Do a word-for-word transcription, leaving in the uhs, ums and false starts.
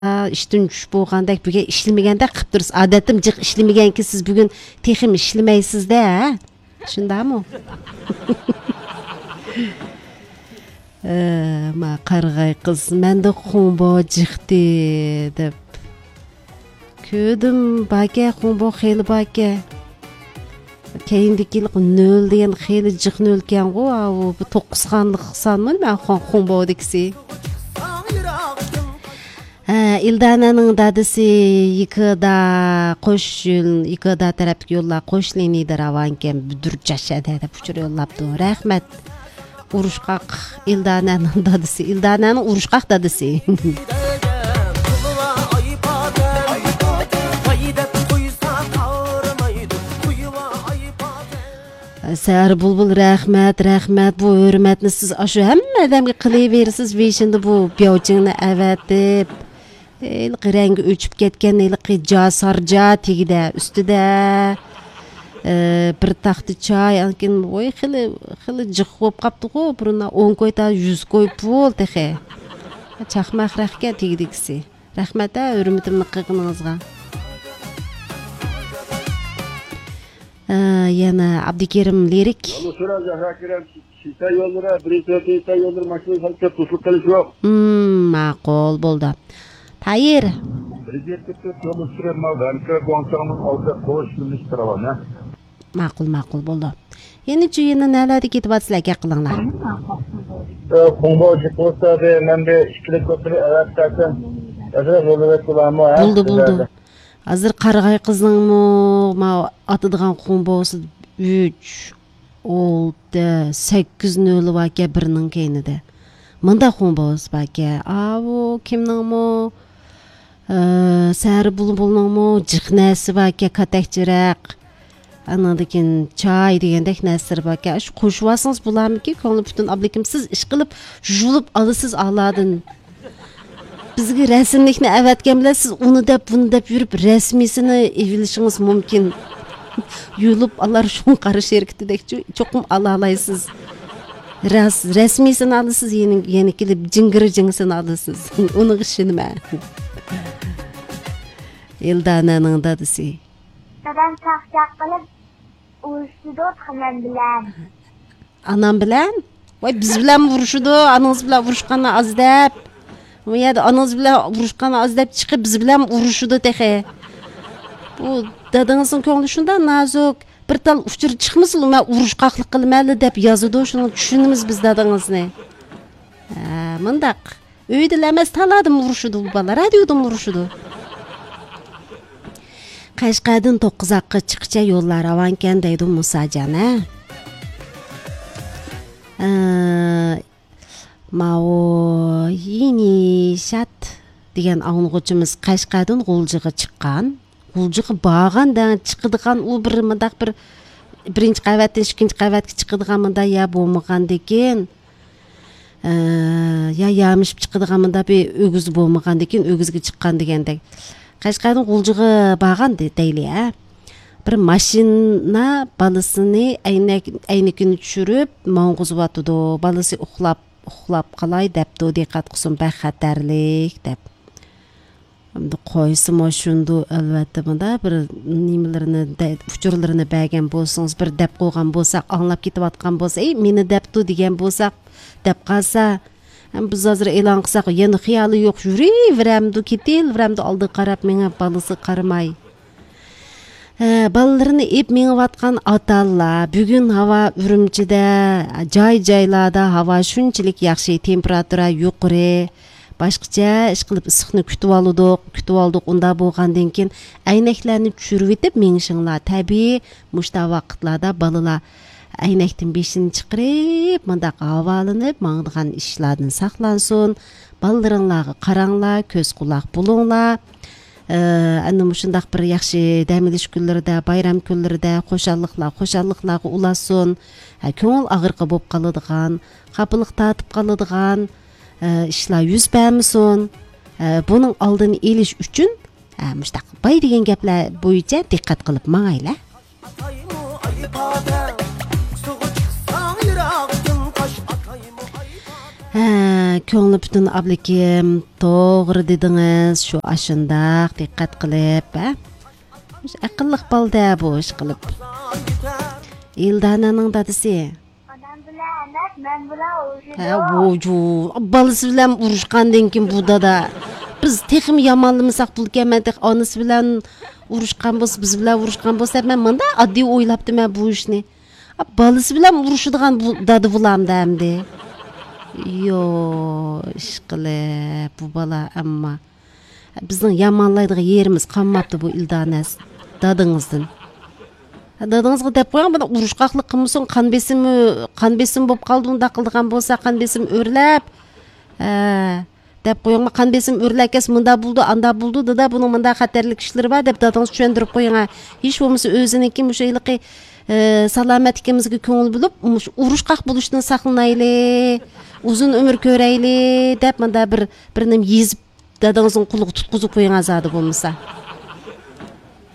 ئىشتىن چۈش بولغاندەك، بۈگۈن ئىشلىمىگەندەك قىلىپ تۇرسىز. ئادەتتىمۇ جىق ئىشلىمىگەنكى، سىز بۈگۈن تېخىمۇ ئىشلىمەيسىز-دە، ھە؟ شۇنداقمۇ؟ ئە، ما قارىغاي قىز، مەندە خۇڭبو جىقتى دەپ. كۆردۈم، باركەن، خۇڭبو خېلى باركەن. كەينىدىكى نۆل دېگەن خېلى جىق نۆلكەنغۇ، ئاۋۇ بۇ توققۇز خانلىق سانمۇ نېمە خۇڭ-، خۇڭبودىكىسى؟ ھە، ئىلدانەنىڭ دادىسى يىكىدا قوش يول، يىكىدا تەرەپتىكى يوللار قوش لىنىيەدە راۋانكەن، بۈدۈر جاشەدە دەپ ئۇچۇر يوللاپتۇ. رەھمەت. ئۇرۇشقاق ئىلدانەنىڭ دادىسى، ئىلدانەنىڭ ئۇرۇشقاق دادىسى. سەھەر بۇلبۇل، رەھمەت، رەھمەت. بۇ ھۆرمەتنى سىز ئاشۇ ھەممە ئادەمگە قىلىۋېرىسىز. بېشىندا بۇ بياۋچىڭنى ئەۋەتىپ، ھېلىقى رەڭگى ئۆچۈپ كەتكەن، ھېلىقى جا سارجا تېگىدە، ئۈستىدە، ئى، بىر تاختا چاي، ئاندىن كېيىن، ۋوي، خېلى، خېلى جىق بولۇپ قاپتىغۇ، بۇرۇندا ئون كوي تا يۈز كوي پۇل تېخى. چاقماق رەختكەن تېگىدىكىسى. رەھمەت ھە، ھۆرمىتىمنى قىلغىنىڭىزغا. ئى، يەنە ئابدۇكېرىم لىرىك. يولنى سورا، زەھرا كېرەم، شىنسا يوللىرى، بىرىنچى سورا شىنسا يوللىرى، ماشىنا سەل كۆپ توسۇلۇپ قېلىش يوق. ھىم، ماقۇل، بولدى. تايىر. بىر يەتتە تۆت يولنى سۈرۈپ، ماۋۇ ۋەنكە گۇاڭچاڭنىڭ ئالدىدا قوش يۆنىلىش راۋان، ھە؟ ماقۇل، ماقۇل، بولدى. يەنە چۈ يەنە نەلەردە كېتىۋاتىسىلەر، گەپ قىلىڭلار. ئە، خۇڭبو جىق بولسا، بىر، مەن بىر ئىككىلىك بولسا، بىر ئەۋەتسەكەن. ئەسلى يوللىرى بولامۇ، ھە؟ بولدى، بولدى. ھازىر قارىغاي قىزنىڭمۇ ماۋۇ ئاتىدىغان خۇڭبوسى ئۈچ، ئالتە، سەككىز نۆلى باركەن بىرىنىڭ كەينىدە. مۇنداق خۇڭبوسى باركەن. ئاۋۇ كىمنىڭمۇ، ئە، سەھەر بۇلبۇلنىڭمۇ جىق نەرسىسى باركەن، كاتەكچىرەق. ئانىڭدىن كېيىن چاي دېگەندەك نەرسىلىرى باركەن. شۇ قوشۇۋالسىڭىز بولارمىكىن؟ كۆڭلى پۈتۈن ئابلىكىم، سىز ئىشقىلىپ يۇلۇپ ئالىسىز ئالاردىن. بىزگە رەسىملىكنى ئەۋەتكەن بىلەن سىز ئۇنى دەپ، بۇنى دەپ يۈرۈپ، رەسمىيسىنى ئېلىۋېلىشىڭىز مۇمكىن. يۇلۇپ ئالار شۇڭ قارا شىركىتىدەك چو-، چوقۇم ئالالايسىز. راس-، رەسمىيسىنى ئالىسىز، يەنە، يەنە كېلىپ جىڭگىرى جىڭسىنى ئالىسىز. ئۇنىڭغا ئىشىنىمەن. ئىلدانەنىڭ دادىسى. دادام چاقچاق قىلىپ ئۇرۇشىدۇ تېخى مەن بىلەن. ئانام بىلەن؟ ۋاي، بىز بىلەن ئۇرۇشىدۇ، ئانىڭىز بىلەن ئۇرۇشقان ئاز دەپ. ئۇ يەردە ئانىڭىز بىلەن ئۇرۇشقان ئاز دەپ چىقىپ، بىز بىلەن ئۇرۇشىدۇ تېخى. بۇ دادىڭىزنىڭ كۆڭلى شۇنداق نازۇك. بىر تال ئۇچۇر چىقمىسىلا، مەن ئۇرۇشقاقلىق قىلىمەنلا دەپ يازىدۇ، شۇنىڭ چۈشىنىمىز بىز دادىڭىزنى. ھە، مۇنداق. ئۆيدىلا ئەمەس، تالادىمۇ ئۇرۇشىدۇ بۇ بالا، رادىيودىمۇ ئۇرۇشىدۇ. قەشقەردىن توققۇزاققا چىققىچە يوللار راۋانكەن دەيدۇ مۇساجان، ھە؟ ئە، ماۋۇ يىنىشات دېگەن ئاڭلىغۇچىمىز قەشقەردىن غۇلجىغا چىققان. غۇلجىغا بارغان دەڭ، چىقىدىغان ئۇ بىر مۇنداق بىر بىرىنچى قەۋەتتىن ئىككىنچى قەۋەتكە چىقىدىغان مۇنداق يەر بولمىغاندىكىن، ئە، يا يامىشىپ چىقىدىغان مۇنداق بىر ئۆگزە بولمىغاندىكىن، ئۆگزىگە چىققان دېگەندەك. قەشقەردىن غۇلجىغا بارغان دە-، دەيلى، ھە. بىر ماشىنا بالىسىنى ئەينەك-، ئەينىكىنى چۈشۈرۈپ ماڭغۇزۇۋاتىدۇ. بالىسى ئۇخلاپ، ئۇخلاپ قالاي دەپتۇ، دىققەت قىلسۇن، بەك خەتەرلىك دەپ. ئەمدى قويسىمۇ شۇندۇ، ئەلۋەتتە، مۇنداق بىر نېمىلىرىنى دە-، ئۇچۇرلىرىنى بەرگەن بولسىڭىز، بىر دەپ قويغان بولساق، ئاڭلاپ كېتىۋاتقان بولسا، ئەي، مېنى دەپتۇ دېگەن بولساق، دەپ قالسا، ھەم بىز ھازىر ئېلان قىلساق، يەنە خىيالى يوق، يۈرۈۋېرەمدۇ، كېتىۋېرەمدۇ ئالدىغا قاراپ مېڭىپ، بالىسىغا قارىماي. ھە، بالىلىرىنى ئېلىپ مېڭىۋاتقان ئاتا-ئانىلار، بۈگۈن ھاۋا ئۈرۈمچىدە، جاي-جايلاردا ھاۋا شۇنچىلىك ياخشى، تېمپېراتۇرا يۇقىرى. باشقىچە ئىشقىلىپ ئىسسىقنى كۈتۈۋالىدۇق، كۈتۈۋالدۇق. ئۇنداق بولغاندىن كېيىن ئەينەكلەرنى چۈشۈرۈۋېتىپ مېڭىشىڭلار تەبىئىي. مۇشۇنداق ۋاقىتلاردا بالىلار ئەينەكتىن بېشىنى چىقىرىپ، مۇنداق ھاۋالىنىپ ماڭىدىغان ئىشلاردىن ساقلانسۇن. بالىلىرىڭلارغا قاراڭلار، كۆز قۇلاق بولۇڭلار. ئە، ئەنە مۇشۇنداق بىر ياخشى دەم ئېلىش كۈنلىرىدە، بايرام كۈنلىرىدە خۇشاللىقلار خۇشاللىقلارغا ئۇلاشسۇن. ھە، كۆڭۈل ئاغرىقى بولۇپ قالىدىغان، خاپىلىق تارتىپ قالىدىغان، ئە، ئىشلار يۈز بەرمىسۇن. ئە، بۇنىڭ ئالدىنى ئېلىش ئۈچۈن، ئە، مۇشۇنداق باي دېگەن گەپلەر بويىچە دىققەت قىلىپ ماڭايلى. ھە، كۆڭلى پۈتۈن ئابلىكىم، توغرا دېدىڭىز، شۇ ئاشۇنداق دىققەت قىلىپ، ھە؟ مۇشۇ ئەقىللىق بالىدە بۇ ئىش قىلىپ. ئىلدانەنىڭ دادىسى. ئانام بىلەن ئەمەس، مەن بىلەن ئۇرۇشىدۇ. ھە، ۋوجۇ. بالىسى بىلەن ئۇرۇشقاندىن كېيىن بۇ دادا. بىز تېخىمۇ يامانلىمىساق بولىدىكەن، مەن تېخى ئانىسى بىلەن ئۇرۇشقان بولسا، بىز بىلەن ئۇرۇشقان بولسا، مەن مۇنداق ئاددىي ئويلاپتىمەن بۇ ئىشنى. بالىسى بىلەن ئۇرۇشىدىغان بۇ دادا بولامدۇ ئەمدى؟ يو، ئىشقىلىپ، بۇ بالا ئەمما. بىزنىڭ يامانلايدىغان يېرىمىز قالماپتۇ بۇ ئىلدانەس دادىڭىزدىن. دادىڭىزغا دەپ قويۇڭ، بۇنى ئۇرۇشقاقلىق قىلمىسۇن، قان بېسىمى، قان بېسىمى بولۇپ قالدى، ئۇنداق قىلىدىغان بولسا، قان بېسىمى ئۆرلەپ. ھە. دەپ قويۇڭ، قان بېسىم ئۆرلەپ كەتسە، مۇنداق بولىدۇ، ئانداق بولىدۇ، دادا، بۇنىڭ مۇنداق خەتەرلىك ئىشلىرى بار، دەپ دادىڭىزغا چۈشەندۈرۈپ قويۇڭ. ھە. ھېچ بولمىسا ئۆزىنىڭكى مۇشۇ ھېلىقى، ئە، سالامەتلىكىمىزگە كۆڭۈل بۆلۈپ، مۇشۇ ئۇرۇشقاق بولۇشتىن ساقلىنايلى، ئۇزۇن ئۆمۈر كۆرەيلى، دەپ مۇنداق بىر، بىر نېمە يېزىپ، دادىڭىزنىڭ قولىغا تۇتقۇزۇپ قويۇڭ زادى بولمىسا.